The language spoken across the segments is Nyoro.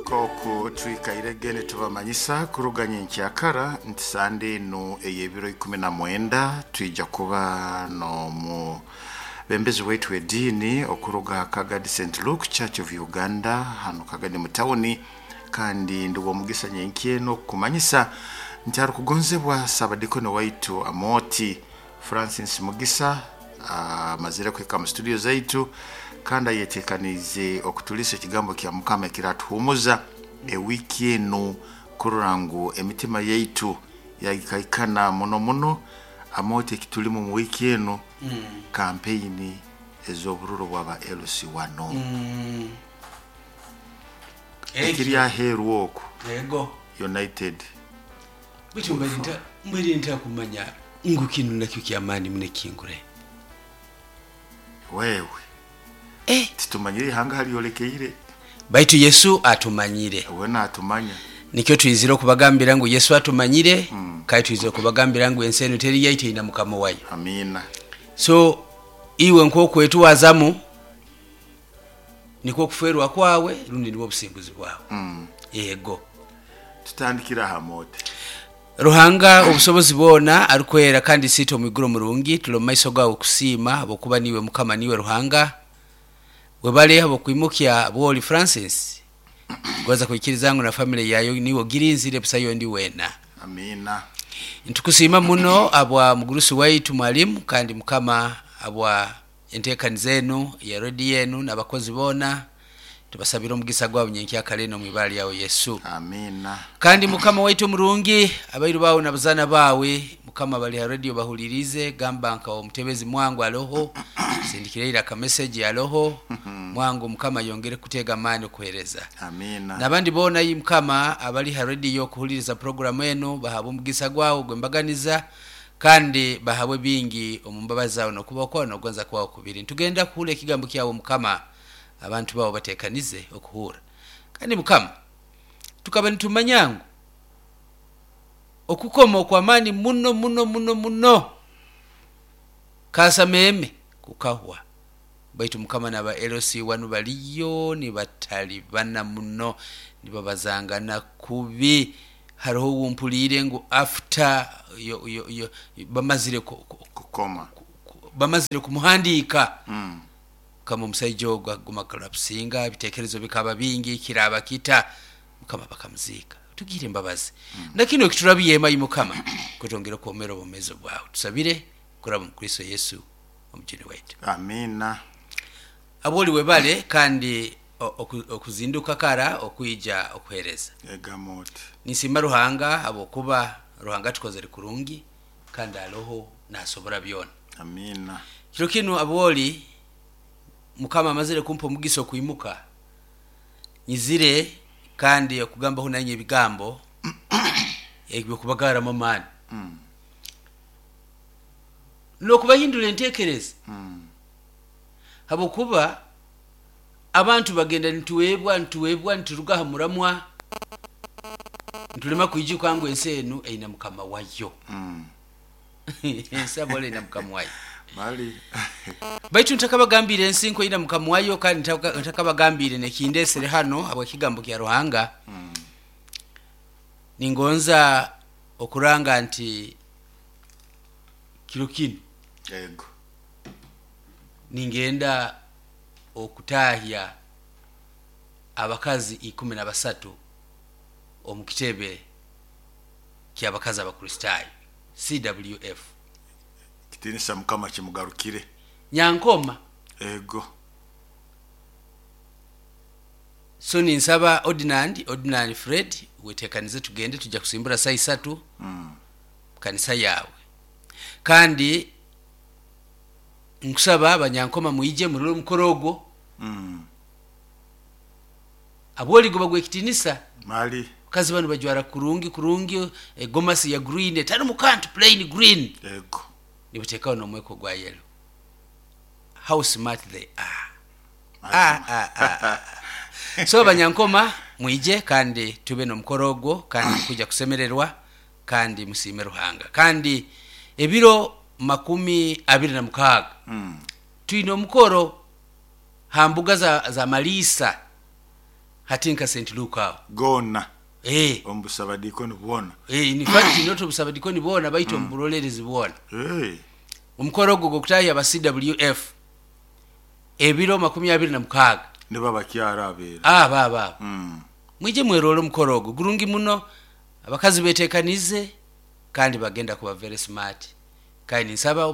Nk'oku twikairege nitubamanyisa kuruga nyenkyakara nti sande enu ey'ebiro 19 twija kuba n'omu bembezi waitu w'ediini okuruga Kagadi St Luke Church of Uganda hano Kagadi mu tawuni. Kandi ndi w'omugisa nyenkya enu okukumanyisa nti arukugonzebwa Saabadikoni waitu Amooti Francis Mugisa amazire kuhika mu studio zaitu kandi ayetekaniize okutuliisa ekigambo kya Mukama ekiratuhumuza ewiiki enu kurora ngu emitima yaitu yagikaikana muno muno. Amooti, ekitulimu mu wiiki enu kampeini ez'obururu bwaba LC1 ekiri aheeru oku. Ego. United. Baitu mbaire ntakumanya ngu kinu nakyo kyamaani muno ekingure. Wewe. Titumanyire ihanga halyolekeire. Baitu Yesu atumanyire. We natumanya. Nikyo twizire okubagambira ngu Yesu atumanyire, kandi twizire okubagambira ngu ensi enu teri yaitu, erina mukama wayo. Amiina. So iwe nk'okwetwazamu nikwo okuferwa kwawe rundi nibwo obusinguzi bwawe. Yego. Tutandikira aha Mote. Ruhanga obusobozi bwona arukwera kandi siita omwiguru omurungi, tuli omu maiso gawe kusiima habwokuba niiwe Mukama, niiwe Ruhanga. Webale habw'okwimukya Bwoli Francis, gonza kwikiriza ngu na family yayo niiwe ogirinzire busayo ondi weena. Amiina. Ntukusiima muno habwa mugurusi waitu mwalimu, kandi Mukama habwa enteekaniza enu ya rediyo enu n'abakozi boona, tubasabire omugisa gwawe nyenkyakara enu omu ibara lyawe Yesu. Amiina. Kandi Mukama waitu omurungi, abairu bawe n'abazaana bawe Mukama bali ha rediyo bahuliriize, gamba nka omutebezi mwangu aloho, sindikireire akameseji aloho, mwangu Mukama yongere kutega amaani okuheereza. Amiina. N'abandi boona yi Mukama abali ha rediyo kuhuliriza puroguramu enu bahabwe omugisa gwawe ogw'embaganiza, kandi bahabwe bingi omu mbabazi zawe n'okubaho kwawe n'okugonza kwawe kubiri. Nitugenda kuhurra ekigambo kyawe Mukama, abantu bawe batekanize okuhurra. Kandi Mukama, tukaba nitumanya ngu okukoma okw'amaani muno muno muno muno kaasameeme kukahwa, baitu Mukama n'aba LC wanu baliyo nibatalibana muno, nibabazangana kubi. Haroho owu mpuliire ngu after yo, yo, yo, bamazire kukoma, bamazire kumuhandiika. Mukama omusaija ogu akaguma kulapusinga, ebitekerezo bikaba bingi, kiraba kita, Mukama bakamuziika. Tugire embabazi. Na kinu ekiturabyema, ai Mukama, kutwongere okwomera obwomeezi bwawe. Tusabire kuraba omu Kristo Yesu omujuni waitu. Amiina. Abwoli webale kandi okuzinduka kara okwija okuhereza. Egamba oti. Ninsiima Ruhanga habwokuba Ruhanga atukozere kurungi kandi aloho nasobora byona. Amiina. Kiro kinu abwoli Mukama amazire kumpa omugisa okwimuka, nyizire kandi okugambaho nainywe ebigambo eby'okubagaramu amaani n'okubahindura entekereza, habwokuba abantu bagenda nituweebwa nituweebwa nituruga ha muramwa, nitulema kwijuka ngu ensi enu eine mukama wayo. Ensi abwoli eine mukama wayo. Mali. Baitu ntakabagambiire ensi nku eine mukama wayo, kandi ntakabagambiire n'ekindesere hano habw'ekigambo kya Ruhanga, ningonza okuranga nti kiro kinu Ego. ningenda okutahya abakazi 13 omu kitebe ky'abakazi Abakristaayo, CWF. Ekitiinisa Mukama kimugarukire. Nyankoma. Ego. So ninsaba Ordinand Fred, wetekanize tugende, tujja kusimbura saa isatu kanisa yawe. Kandi nkusaba Abanyankoma mwije murole omukoro ogwo. Abwoli guba gw'ekitiinisa. Mali. Abakazi banu bajwara kurungi kurungi, egomasi ya green etarimu kantu, plain green. Ego. Nibateekaho n'omweko gwa yellow. How smart they are. Mazima. Ah, ah, ah, ah. So Abanyankoma mwije kandi tube n'omukoro ogwo, kandi mukwija kusemererwa kandi musiime Ruhanga. Kandi ebiro 26 twine omukoro ha mbuga za Maliisa. Hati nka St Luke aho. Goona. Eh. Omu busabadiikoni bwona. Eh, in fact not obusabadikoni bwona, baitu omu burolerezi bwona. Eh. Omukoro ogwo gwokutahya aba CWF ebiro 26. Nibo abakyara abeera. Aba aba aba. Mwije mwerole omukoro ogwo gurungi muno. Abakazi betekanize kandi bagenda kuba very smart, kandi ninsaba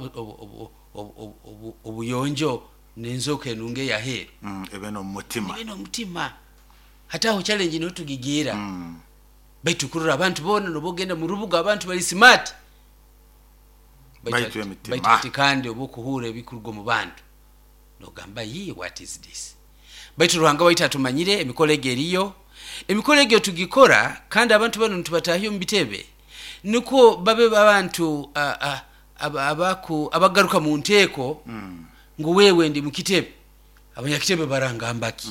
obuyonjo n'enzoka enungi eyaheeru. Ebe n'omu mutima. Ibe n'omutima. Hati aho challenge niho tugigiira. Baitu kurora abantu boona nobogenda mu rubuga, abantu bali smart. Baitu emitima. Baitu ati kandi oba okuhuura ebikuruga omu bantu nogamba, "Yi, what is this?" Baitu Ruhanga waitu atumanyire. Emikoro egi eriyo, emikoro egyo tugikora, kandi abantu bano nitubatahya omu bitebe nukwo babe abantu abagaruka mu nteeko ngu wewe ndi mukitebe, abanyakitebe barangambaki.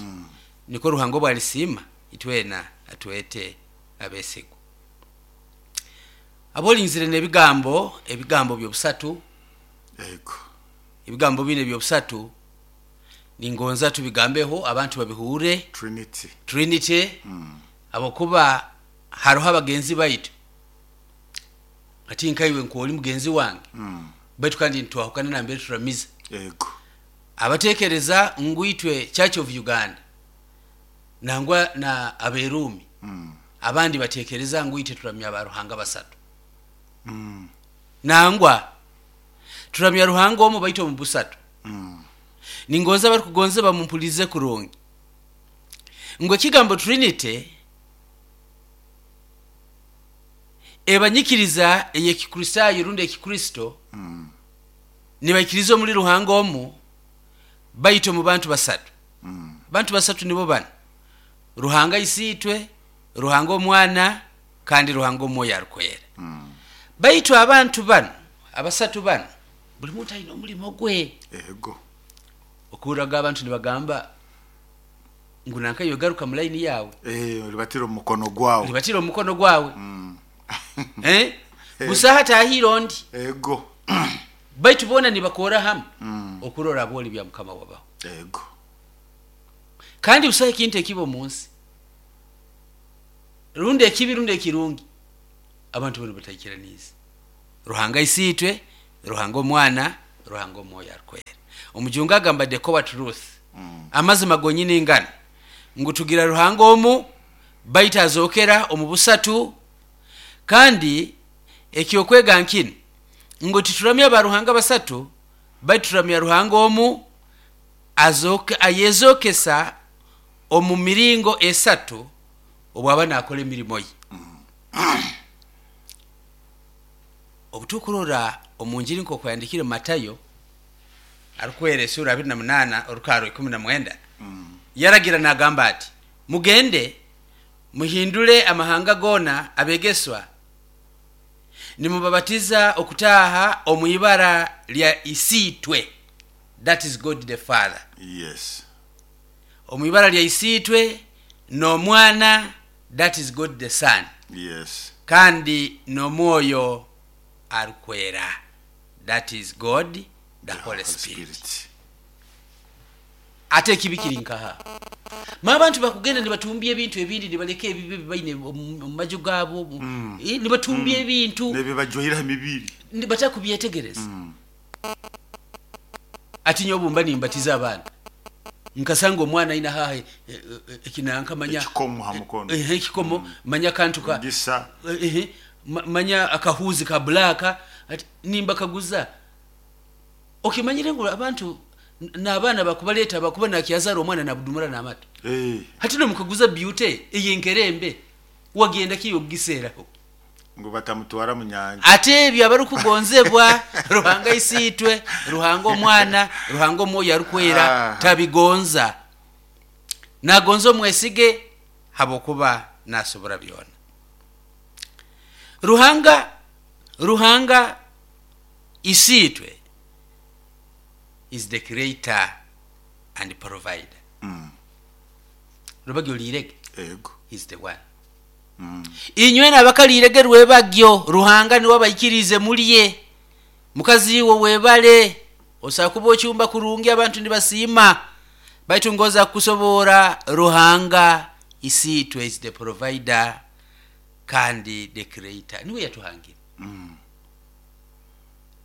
Niko Ruhanga obu alisiima itwena atwete abesigwa abolinzire n'ebigambo, ebigambo byobusatu. Ego. Ebigambo bine byobusatu ningonza tubigambeho, abantu babihure. Trinity. Trinity. Abokuba haroho abagenzi baitu, ati nkaiwe nkwoli mugenzi wange, baitu kandi nitwahukana nambere turamiza. Ego. Abatekereza ngu itwe Church of Uganda nangwa na aberumi, abandi batekereza ngu itwe turamya abaruhanga basatu. Nangwa turamya Ruhanga omu, baitu omu busatu. Ningonza barikugonza bamumpulize kurungi ngu ekigambo Trinity ebanyikiriza ey'Ekikristaayo rundi Ekikristo, nibaikiriza omuli Ruhanga omu, baitu omu bantu basatu. Bantu basatu nibo bano: Ruhanga Isiitwe, Ruhanga Omwana, kandi Ruhanga Omwoyo Arukwera. Baitu abantu bano abasatu bano, buli muntu aine omulimo gwe. Ego. Okuhurraga abantu nibagamba ngu nankayo garuka mu layini yawe. Eh, olibatira omu mukono gwawe. Libatira omukono gwawe. Eh? Busaha tahire ondi. Ego. Baitu boona nibakora hamu okurora aboli bya Mukama wabaho. Ego. Kandi busaha ekintu ekiba omu nsi, rundi ekibi rundi ekirungi, abantu bano bataikiraniize: Ruhanga Isiitwe, Ruhanga Omwana, Ruhanga Omwoyo Arukwera. Omujungu agamba the core truth, amazima gonyini ngano ngu tugira Ruhanga omu, baitu azokera omu busatu. Kandi ekyokwega nkinu ngu tituramya baruhanga basatu, baitu turamya Ruhanga omu ayezokesa omu miringo esatu obwaba nakora emirimo ye. Obu tukurora omu njiri nk'oku yandikire Matayo arukwera esura 28 orukaro 19, yaragira nagamba ati, "Mugende muhindule amahanga gona abegeswa, nimubabatiza okutaha omu ibara lya Isiitwe," that is God the Father. Omu ibara lya Isiitwe n'Omwana, that is God the Son. Kandi n'Omwoyo Arukwera, that is God the Holy Spirit. Spirit. Ate ekibi kiri nkaha? Ma abantu bakugenda nibatumbya ebintu ebindi, nibaleka ebibi bibaine omu maju gaabo, nibatumbya ebintu nebibajwaire ha mibiri. Batakubyetegereza. Ati nyowe obumba nimbatiza abaana, nkasanga omwana aina haha ekinanka manya ekikomo ha mukono. Ekikomo, manya akantu ka gisa. Manya akahuzi ka black, ati nimbakaguza, okimanyire ngu abantu n'abaana bakubaleta bakuba nakyazara omwana nabudumura n'amata? Eh. Hati nomukaguza, "Beauty eyenkerembe wagenda kiyo kugiseeraho?" Ngu batamutwara mu nyanja. Ate ebyo abarukugonzebwa, Ruhanga Isiitwe, Ruhanga Omwana, Ruhanga Omwoyo Arukwera tabigonza. Nagonza omwesige habwokuba nasobora byona. Ruhanga Isiitwe is the creator and provider. Rubagyo liirege. Ego. Is the one. Inywe nabakaliirege rwebagyo, Ruhanga niwe abaikirize mulye. Mukazi iwe webale osobola kuba okyumba kurungi, abantu nibasiima, baitu ngoza kukusobora Ruhanga. Isiitwe is the provider kandi the creator, niwe yatuhangire.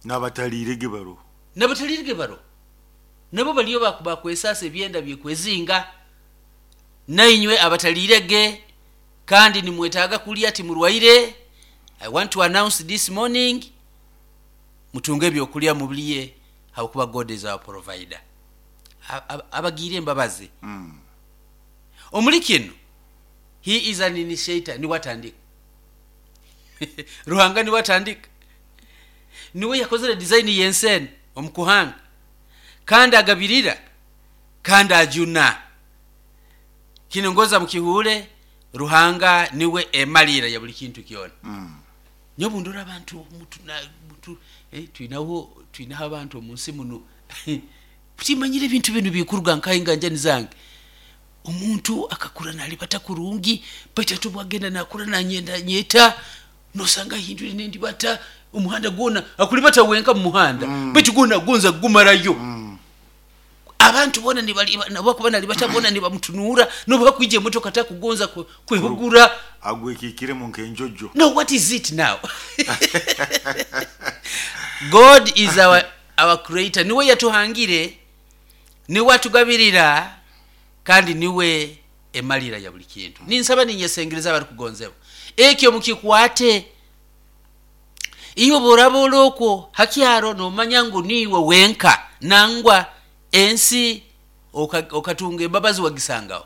N'abataliirege baroho. Nabatalirige baro nabo baliyo bakwesasa ebyenda byekwezinga. Nainywe abatalirege kandi nimwetaaga kulya timurwaire, I want to announce this morning, mutunge ebyokulya mubulye, habwokuba God is our provider. Abagiire embabazi. Omuli kino he is an initiator, niwe atandika. Ruhanga niwe atandika, niwe yakozere design y'ensi eno omukuhanga, kandi agabirira kandi ajuna. Kino ngoza mukihuure, Ruhanga niwe emalira ya buli kintu kyona. Nyowe ndora abantu twinaho abantu omu nsi muno timanyire ebintu binu bikuruga nkahe nganjani zange. Omuntu akakura nalibata kurungi, baitu ati obwagenda nakura nanyenda nyeta, nosanga ahindwire nendibata omuhanda gwona akulibata wenka mu muhanda, baitu gwona agonza kugumarayo. Abantu bona nabakuba nalibata bona nibamutunura, nobu hakwija emotoka takugonza kwehugura. Agwekikiremu nkenjojo. No, what is it now? God is our creator, niwe yatuhangire, niwe atugabirira, kandi niwe emalira ya buli kintu. Ninsaba ninyesengereza abarikugonzebwa, ekyo mukikwate. Iyo boraba olokwo hakyaro nomanya ngu niiwe wenka, nangwa ensi okatunga embabazi wagisangaho.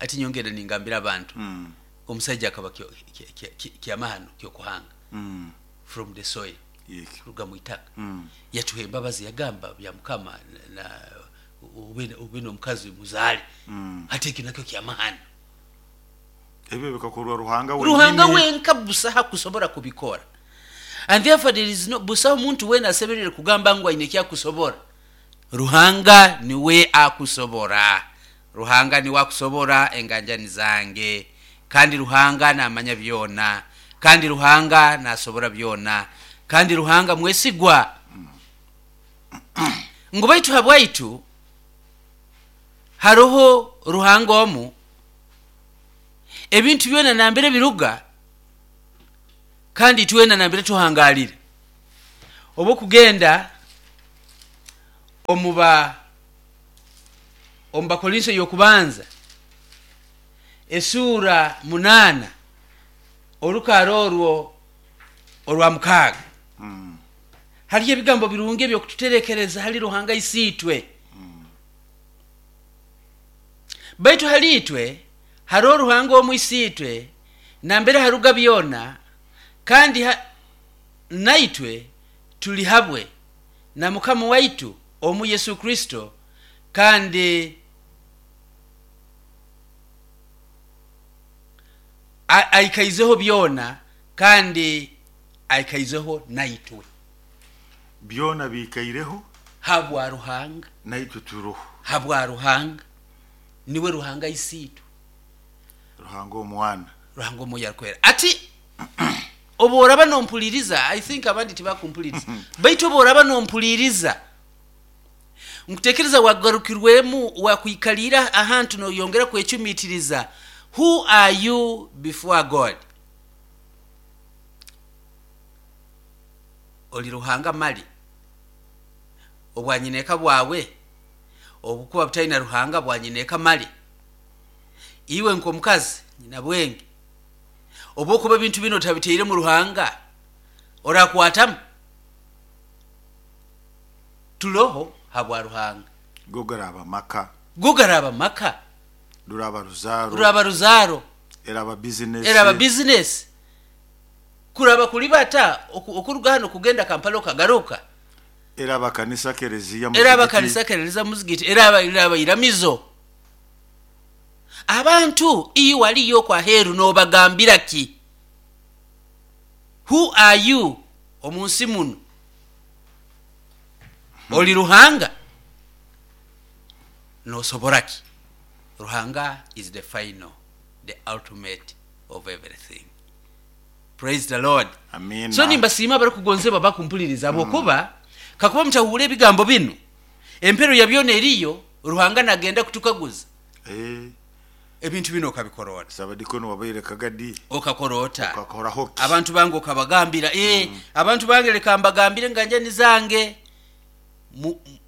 Ati nyongera ningambira abantu, omusaija akaba kyamahano kyokuhanga from the soil, kuruga mu itaka. Yatuha embabazi, yagamba bya Mukama na ube n'omukazi muzale. Ate ekyo nakyo kyamahano. Ebyo bikakorwa Ruhanga Ruhanga wenka busaha kusobora kubikora. And therefore there is no busaha omuntu wena asemerere kugamba ngu aine ekyakusobora. Ruhanga niwe akusobora. Ruhanga niwe akusobora enganjani zange. Kandi Ruhanga namanya byona. Kandi Ruhanga nasobora byona. Kandi Ruhanga mwesigwa. Ngu baitu habwaitu haroho Ruhanga omu, ebintu byona nambere biruga, kandi twena nambere tuhangalire. Obu kugenda omu Bakorinso y'okubanza esura 8 orukaro orwo orwa 6, hariyo ebigambo birungi ebyokututerekereza hali Ruhanga isiitwe. Baitu hali itwe hariho Ruhanga omu isiitwe nambere haruga byona, kandi naitwe tuli habwe na Mukama waitu omu Yesu Kristo, kandi aikaizeho byona, kandi aikaizeho naitwe. Byona biikaireho habwa Ruhanga, naitwe turoho habwa Ruhanga. Niwe Ruhanga isiitwe, Ruhanga omwana, Ruhanga omwoyo arikwera. Ati obu oraba nompuliriza, I think abandi tibakumpuliriza, baitu obu oraba nompuliriza, nkutekereza wagarukirwemu, wakwikalira ahantu noyongera kwecumitiriza, who are you before God? Oli Ruhanga mali? Obwanyineka bwawe obukuba butaina Ruhanga, bwanyineka mali? Iwe nk'omukazi nyina bwenge, obwokuba ebintu bino otabiteiremu Ruhanga, orakwatamu? Tuloho habwa Ruhanga. Go garaba maka, go garaba maka, ruraba ruzaro, ruraba ruzaro, eraba business, eraba business, kuraba kulibata okuruga hano kugenda Kampala okagaruka, eraba kanisa kereziya, eraba kanisa kereziya muzigiti, eraba iramizo. Abantu iyo waliyo kwa heru nobagambira ki? Who are you omunsi muno? Oli Ruhanga? Nosobora ki? Ruhanga is the final, the ultimate of everything. Praise the Lord. Amina. So nimbasiima abarikugonzebwa bakumpuliriza, habwokuba kakuba mutahuura ebigambo binu, empero ya byona eriyo, Ruhanga nagenda kutukaguza. Ebintu bino okabikora ota? Sabadikoni wabaire kagadi. Okakora ota? Okakoraho ki? Abantu bange okabagambira, abantu bange leka mbagambire nganjani zange,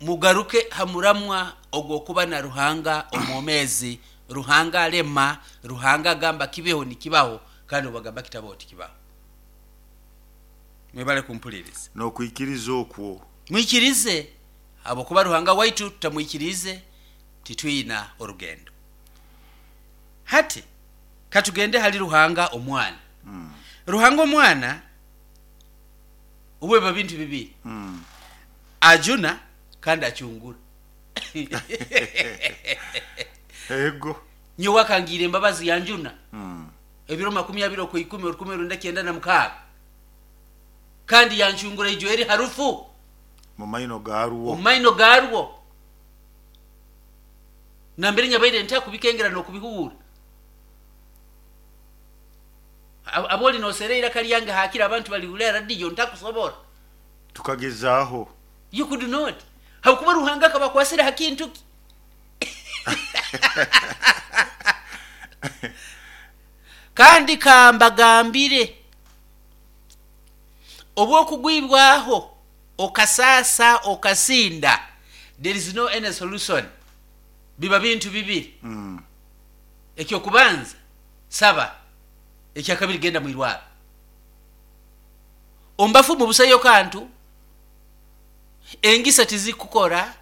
mugaruke hamuramwa ogwokuba na Ruhanga omwomezi. Ruhanga alema, Ruhanga agamba kibeho nikibaho, kandi obagamba kitabaho tikibaho. Mwebale kumpuliriza. N'okwikiriza okwo. Mwikirize, habwokuba Ruhanga waitu tutamwikirize titwina orugendo. Hati katugende hali Ruhanga omwana. Ruhanga omwana obweba bintu bibiri. Ajuna kandi acungura. Ego. Nyowe akangira embabazi yanjuna. Ebiro 20 okwikumi 1996. Kandi yancungura ijo eri harufu. Mumaino garwo. Mumaino garwo. Nambere nyabaire ntakubikengera n'okubihura. Aboli nosereira kalyange hakira abantu bali hulera radio ntakusobora. Tukagezaho. You could not. Hakuba Ruhanga akabakwasira hakintu ki? Kandi kambagambire obwokugwibwaho okasasa okasinda, there is no any solution. Biba bintu bibiri. Ekyokubanza saba, ekyakabiri genda mwirwaro. Ombafu mubusayo kantu engisa tizikukora,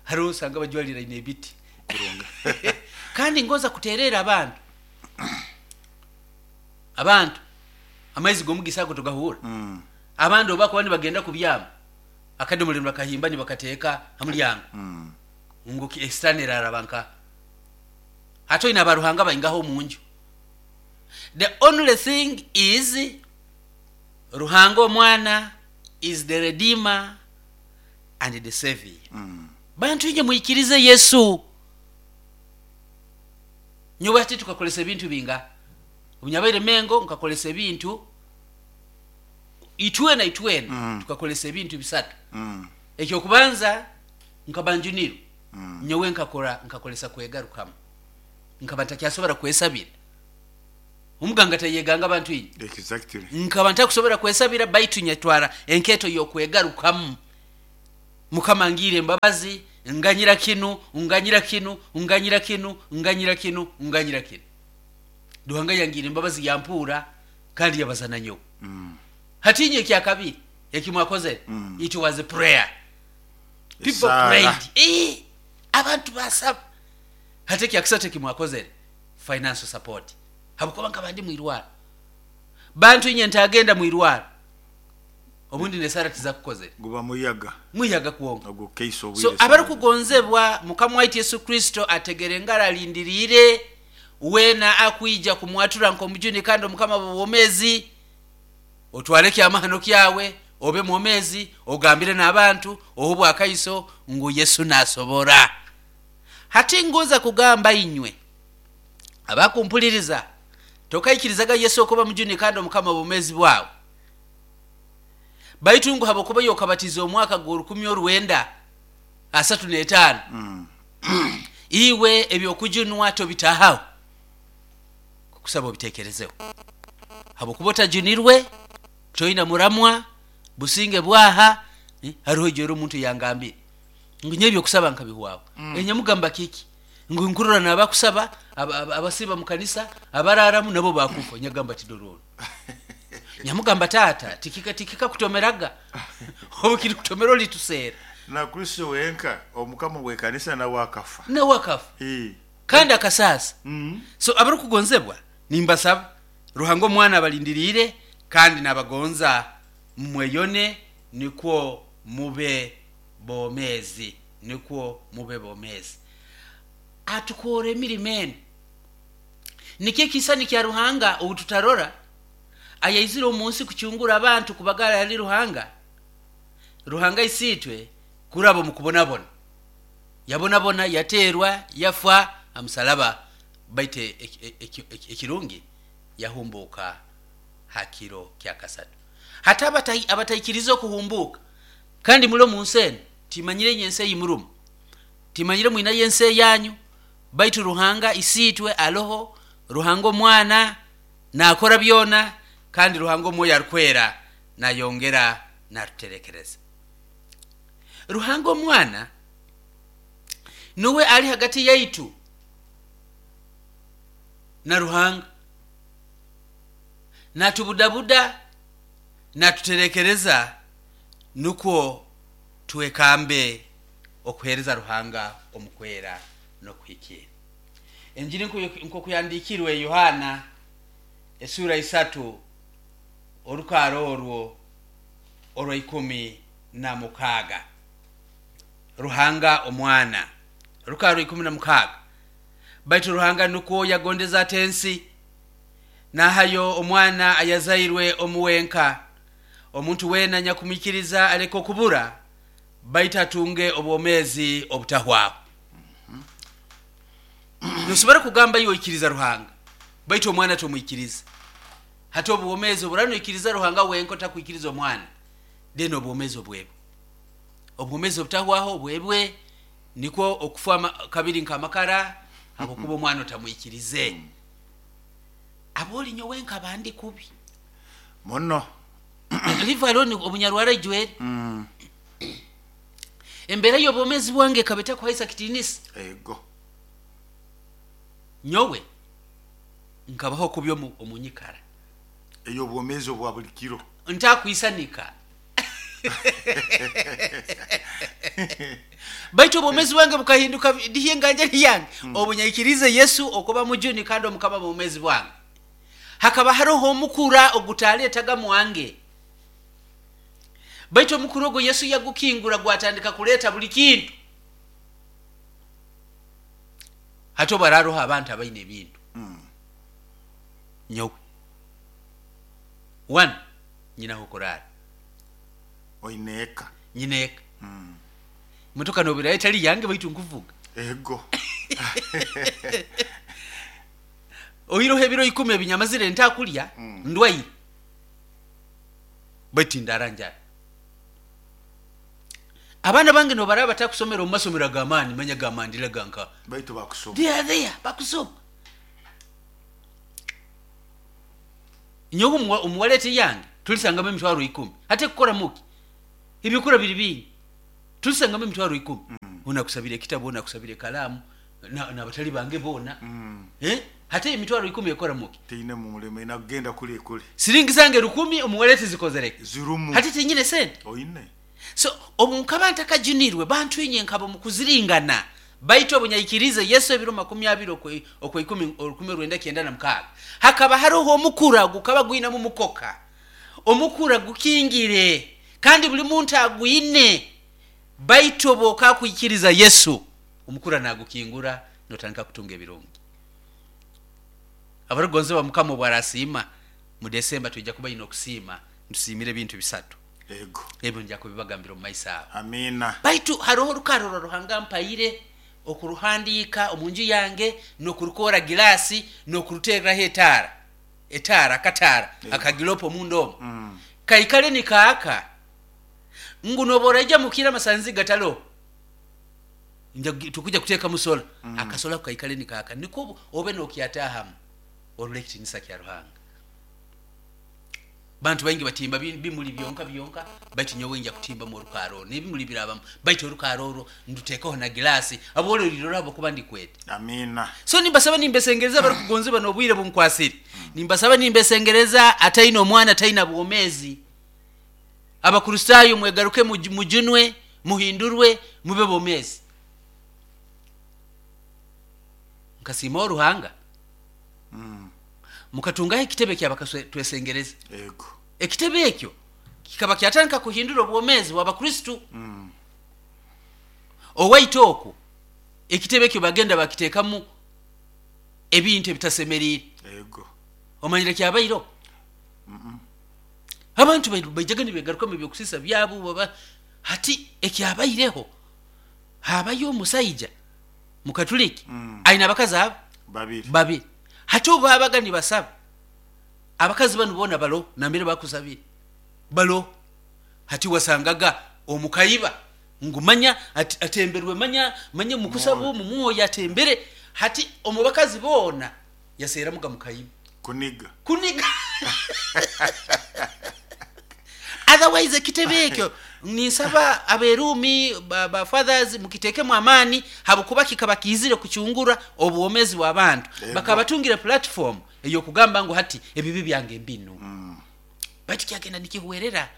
hariho osanga bajwalira ine ebiti. Kandi ngoza kuterera abantu. Abantu amaizi g'omugisa ago tugahura. Abandi obakuba nibagenda kubyama akadomole bakahimba nibakateeka ha mulyango. Ngu esitani eraraba nka hati oine abaruhanga baingaho omunju. The only thing is Ruhanga omwana is the redeemer and the savior. Bantu inye mwikirize Yesu. Nyowe hati tukakolesa ebintu binga. Obunyabaire Mengo nkakolesa ebintu itwena itwena. Tukakolesa ebintu bisatu. Ekyokubanza nkabanjuniro. Nyowe nkakora nkakolesa kwegarukamu. Nkaba ntakyasobora kwesabira. Omuganga tayeganga abantu inye. Exactly. Nkaba ntakusobora kwesabira baitu nyatwara enketo y'okwegarukamu. Mukama ngire embabazi, nganyira kinu, nganyira kinu, nganyira kinu, nganyira kinu, nganyira kinu. Ruhanga yangira embabazi yampura kandi yabazana nyowe. Hatinye ekyakabiri ekimwakozere. It was a prayer. People prayed. Abantu basaba. Hati ekyakisatu ekimwakozere financial support. Habukuba nkaba ndi mwirwaro. Bantu inye ntagenda mwirwaro. Obundi nesara tizakukozere. Guba muyaga. Muyaga kuonga. Ogwo keiso So obwire. Abarukugonzebwa Mukama waitu Yesu Kristo ategere ngara alindirire wena akwija kumwatura nkomujuni kandi omukama bwomezi otwale kyamahano kyawe obe mwomezi ogambire n'abantu ohubwa akaiso ngu Yesu nasobora. Hati ngoza kugamba inywe abakumpuliriza tokaikirizaga Yesu okuba mujuni kandi omukama bwomezi bwawe. Baitu ngu habokuba yokabatiza omwaka gwa 1935. Iwe ebyokujunwa tobitahaho. Kusaba obitekerezeho. Habokuba otajunirwe toina muramwa businge bwaha, hariho ijoro omuntu yangambire ngu nye ebyokusaba nkabihwaho. Enyamugamba kiki ngu nkurora nabakusaba abasiba mu kanisa abararamu nabo bakufa. Nyagamba tidororo. Nyamugamba tata tikika tikika kutomeraga obu kiri kutomera oli tusera. Na Kristo wenka omukama we kanisa nawe akafa. Nawe akafa. Kandi akasasa. So abarukugonzebwa nimbasaba Ruhanga omwana abalindirire kandi nabagonza mweyone nikwo mube bomezi, nikwo mube bomezi. Atukora emirimo eno. Nikyo ekisani kya Ruhanga obu tutarora ayaizire omu nsi kucungura abantu kubagara ali Ruhanga. Ruhanga isitwe kuraba mu kubonabona. Yabonabona yaterwa yafa amusalaba baite ekirungi yahumbuka hakiro kya kasatu. Hata abataikiriza okuhumbuka kandi mulo mu nsi eno timanyire nyense yimurumu timanyire mwina yense yanyu. Baitu Ruhanga Isiitwe aloho, Ruhanga Omwana naakora byona, kandi Ruhanga Omwoyo Arukwera nayongera natuterekereza. Ruhanga Omwana nuwe ali hagati yaitu na Ruhanga, natubudabuda, natuterekereza, nukwo twekambe okuheereza Ruhanga omu kwera n'okuhikirra. Enjiri nk'oku yahandiikirwe Yohaana esuura 3 orukaaro orwo orwa 16. Ruhanga Omwana, orukaaro 16. Baitu Ruhanga nukwo yagondeza ati ensi, nahayo Omwana ayazairwe omu wenka, omuntu weena anyakumwikiriza aleke okubura, baitu atunge obwomeezi obutahwaho. Nosobora kugamba iwe oikiriza Ruhanga, baitu Omwana tomwikiriza. Hati obwomeezi oburaba noikiriza Ruhanga wenka otakwikiriza Omwana, then obwomeezi obwebwe. Obwomeezi obutahwaho obwebwe, nikwo okufa kabiri nk'amakara, habwokuba Omwana otamwikirize. Abooli nyowe nkaba ndi kubi muno. Leave alone obunyarwara ijwere. Embeera y'obwomeezi bwange ekaba etakuhaisa kitiinisa. Ego. Nyowe nkabaho kubi omu nyikara ey'obwomeezi obwa buli kiro. Ntakwisanika. Baitu obwomeezi bwange bukahinduka ndiho enganjani yange. Obu nyaikirize Yesu okuba mujuni kandi omukama bwomezi bwange. Hakaba haroho omukura ogutaleetaga mwange. Baitu omukura ogwo Yesu yagukingura gwatandika kuleeta buli kintu. Hati obu hararoho abantu abaine ebintu. Nyowe. One, nyinaho kuraara. Oine eka. Nyina eka. Motoka nobirayo etali yange baitu nkuvuga. Ego. Oiroho ebiro 10 ebinyamazire ntakulya, ndwaire. Baitu tindara njara. Abaana bange nobaraba batakusomera omu masomero ag'amaani, manya gamandira ganka. Baitu bakusoma. They are there, bakusoma. Nyowe omu wallet yange tulisangamu emitwaro 10. Hati ekukora muki? Ebikura biri bingi. Tulisangamu emitwaro 10. Ona akusabira ekitabu, ona akusabira ekalaamu, n'abatali bange boona. Hati emitwaro 10 ekora muki? Teine mulimo, inagenda kuli ekuli. Siringi zange 1000 omu wallet zikozereke. Zirumu. Hati tinyine sente. Oine. So obu nkaba ntakajunirwe bantwinye nkaba mu kuziringana. Baitu obu nyaikirize Yesu ebiro 20 okw'ikumi 1996, hakaba haroho omukura gukaba gwinamu mukoka. Omukura gukingire kandi buli muntu agwine. Baitu obu okakwikiriza Yesu, omukura nagukingura notandika kutunga ebirungi. Abarukugonzebwa Mukama obu arasiima, mu Desemba twija kuba ine okusiima, ntusiimire ebintu 3. Ego. Ebyo nja kubibagambira omu maiso aho. Amina. Baitu haroho orukaro rwa Ruhanga mpaire okuruhandiika omu nju yange n'okurukora gilaasi n'okuruteeraho etaara. Etaara, akataara, akagilopo omunda omu. Kaikale nikaaka ngu noba oraija mukiro amasanzi gataloho. Tukuja kuteekamu sola. Akasola ako kaikale nikaaka nikwo obe n'okyataahamu orole ekitiinisa kya Ruhanga. Bantu baingi batimba bimuli byonka byonka, baitu nyowe nja kutimbamu orukaaro orwo n'ebimuli birabamu, baitu orukaaro orwo nduteekeho na gilaasi abwole olirora habwokuba ndikwete. Amina. So nimbasaba nimbesengereza abarukugonzebwa n'obwire bunkwasire. Nimbasaba nimbesengereza ataine omwana ataina bwomeezi. Abakristaayo mwegaruke mujunwe, muhindurwe, mube bomeezi. Nkasiimaho Ruhanga. Mukatungaho ekitebe ky'abakatwesengereza. Ego. Ekitebe ekyo kikaba kyatandika kuhindura obwomeezi bw'Abakristo. Owaitu okwo ekitebe ekyo bagenda bakiteekamu ebintu ebitasemeriire. Ego. Omanyire kyabaireho? Abantu baijaga nibegarukamu ebyokusisa byabo baba hati ekyabaireho habayo omusaija Mukatuliki aine abakazi abo Babiri. Babiri. Hati obu babaga nibasaba, abakazi banu boona baloho nambere bakusabire baloho. Hati wasangaga omukaiba ngu manya atemberwe manya manya mukusaba omu mwoyo atembere. Hati omu bakazi boona yaseeramuga mukaima. Kuniga. Kuniga. Otherwise ekitebe ekyo ninsaba aberuumi ba fathers mukitekemu amaani, habwokuba kikaba kiizire kucungura obwomezi bw'abantu. Bakaba batungire platform ey'okugamba ngu hati ebibi byange mbinu. Baitu kyagenda nikihwerera.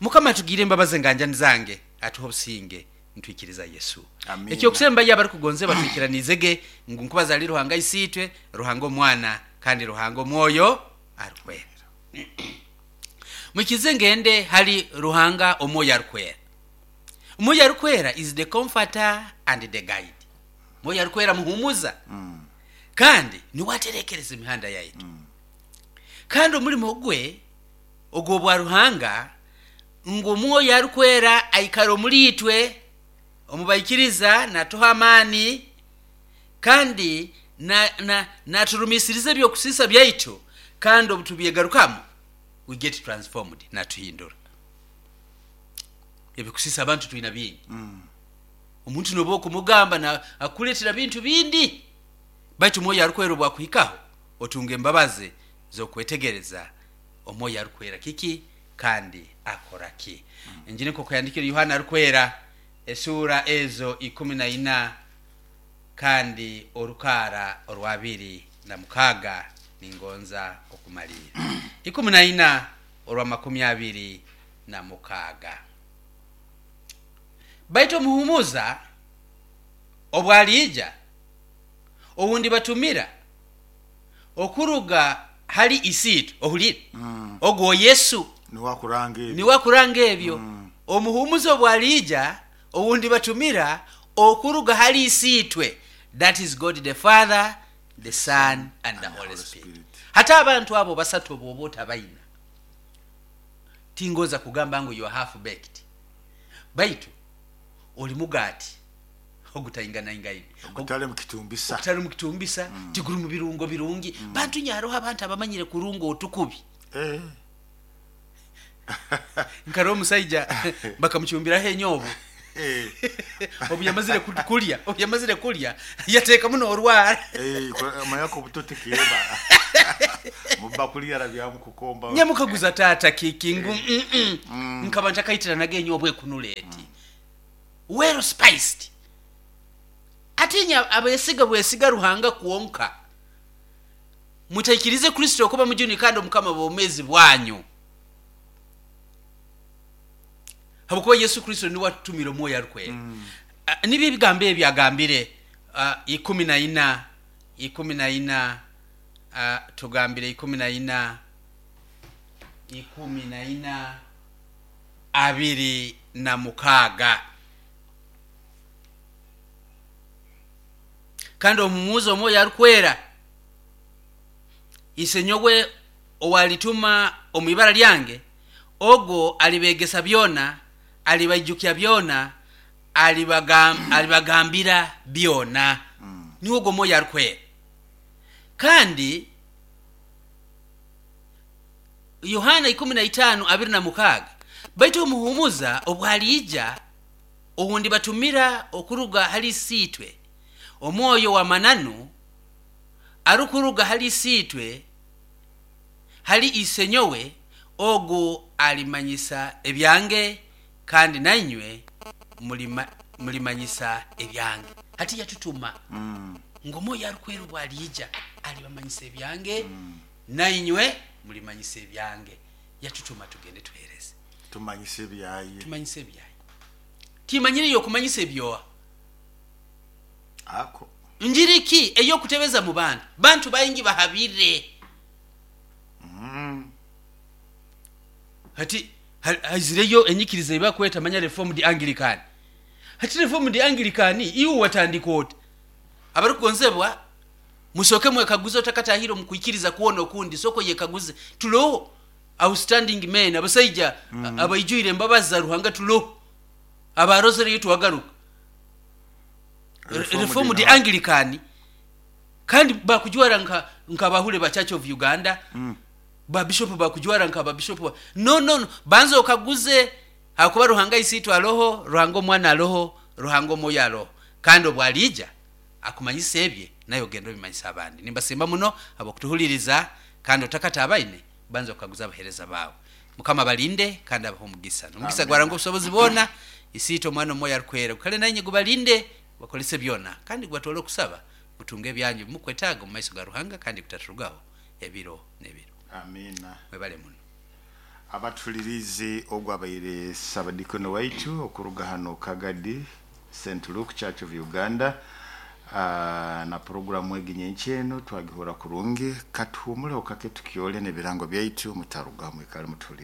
Mukama atugire embabazi enganjani zange, atuhe obusinge nitwikiriza Yesu. Amina. Ekyokusembayo abarikugonzebwa twikiraniizege ngu nkubaza ali Ruhanga Isiitwe, Ruhanga Omwana, kandi Ruhanga Omwoyo Arukwera. Mwikirize ngende hali Ruhanga Omwoyo Arukwera. Omwoyo Arukwera is the comforter and the guide. Omwoyo Arukwera muhumuza. Kandi niwe aterekereza emihanda yaitu. Kandi omulimo gwe ogw'obwa Ruhanga ngu Omwoyo Arukwera aikara omuli itwe, omu baikiriza, natuha amaani, kandi naturumisiriza ebyokusiisa byaitu, kandi obu tubyegarukamu we get transformed, natuhindura. Ebyokusiisa abantu twina bingi. Omuntu noba okumugamba na akukuleetera bintu bindi, baitu Omwoyo Arukwera obu akuhikaho otunga embabazi z'okwetegereza Omwoyo Arukwera kiki kandi akora ki. Enjiri nk'oku yandikire Yohana Arukwera esuura ezo 14 kandi orukaara orwabiri na mukaaga ningonza okumalirra. 14 orwa 26. Baitu omuhumuza obu aliija, ou ndibatumira okuruga hali Isiitwe, ohulire, ogwo Yesu. Niwe akuranga ebyo. Niwe akuranga ebyo. Omuhumuza obu aliija, ou ndibatumira okuruga hali Isiitwe, that is God the Father, the Son and the Holy Spirit. Hati abantu abo basatu obu oba otabaina, tingonza kugamba ngu you are half baked, baitu oli mugaati ogutainganaingaine. Ogutali mu kitumbisa. Ogutali mu kitumbisa, tiguri mu birungo birungi. Bantu nyo haroho abantu abamanyire kurunga otukubi. Nkarora omusaija bakamucumbiraho enyobo. Obu yamazire kulya, obu yamazire kulya yateekamu n'orwara. Omanya ko obuto tikeba. Mubakuli yarabyamu kukomba. Nyamukaguza taata kiki ngu nkaba ntakaitiranaga enyobo ekunura eti. Well spiced. Atinya abesiga bwesiga Ruhanga kwonka. Mutaikirize Kristo okuba mujuni kandi omukama w'obwomeezi bwanyu. Habwokuba Yesu Kristo niwe atutumire Omwoyo Arukwera. Nibyo ebigambo ebi agambire 14, 14, tugambire 14, 14, 26. Kandi omumuuza Omwoyo Arukwera, Isenyowe ow'alituma omu ibara lyange, ogwo alibeegesa byona, alibaijukya byona, alibagambira byona. Niwe ogwo Omwoyo Arukwera. Kandi Yohana 15, 26, baitu Omuhuumuza obu aliija, ou ndibatumira okuruga hali Isiitwe, Omwoyo w'amananu, arukuruga hali Isiitwe, hali Isenyowe, ogu alimanyisa ebyange, kandi nainywe mulimanyisa ebyange. Hati yatutuma ngu Omwoyo Arukwera obu aliija, alibamanyisa ebyange, nainywe mulimanyisa ebyange. Yatutuma tugende tuheereze. Tumanyise ebyaye. Tumanyise ebyaye. Timanyire ey'okumanyisa ebyoha. Ako. Njiri ki ey'okutebeza mu bantu? Bantu baingi bahabire. Hati haizireyo enyikiriza ei bakweta manya Reformed Anglican. Hati Reformed Anglican iwe watandika ota? Abarukugonzebwa, musooke mwekaguze otakatahire omu kwikiriza kwona okundi, sooka oyekaguze, tuloho outstanding men, abasaija abaijwire embabazi za Ruhanga tuloho, abarozereyo twagaruka. Reformed Anglican kandi bakujwara nka nk'abahule ba Church of Uganda, ba bishop bakujwara nka ba bishop ba no no no, banza okaguze hakuba Ruhanga Isiitwe aloho, Ruhanga Omwana aloho, Ruhanga Omwoyo aloho. Kandi obwaliija akumanyisa ebye, naye ogenda obimanyisa abandi. Nimbasimba muno habw'okutuhuliriza, kandi otakatabaine banza okukaguza abaheereza baawe. Mukama balinde kandi abahe omugisa. Omugisa gwa Ruhanga obusobozi bwona, Isiitwe, Omwana, Omwoyo Arukwera, gukale nainye, gubalinde, gubakolese byona, kandi gubatwale okusaba mutunge ebyanyu ebimukwetaaga omu maiso ga Ruhanga, kandi gutaturugaho ebiro n'ebiro. Amiina. Mwebale muno. Abatuhuliriize, ogu abaire Ssabadikoni waitu okuruga hano Kagadi St. Luke Church of Uganda. Na puroguramu egi nyenkya enu twagihura kurungi. Katuhumuleho kake tukyole n'ebirango byaitu, mutarugaho, mwikale mutuhulirize.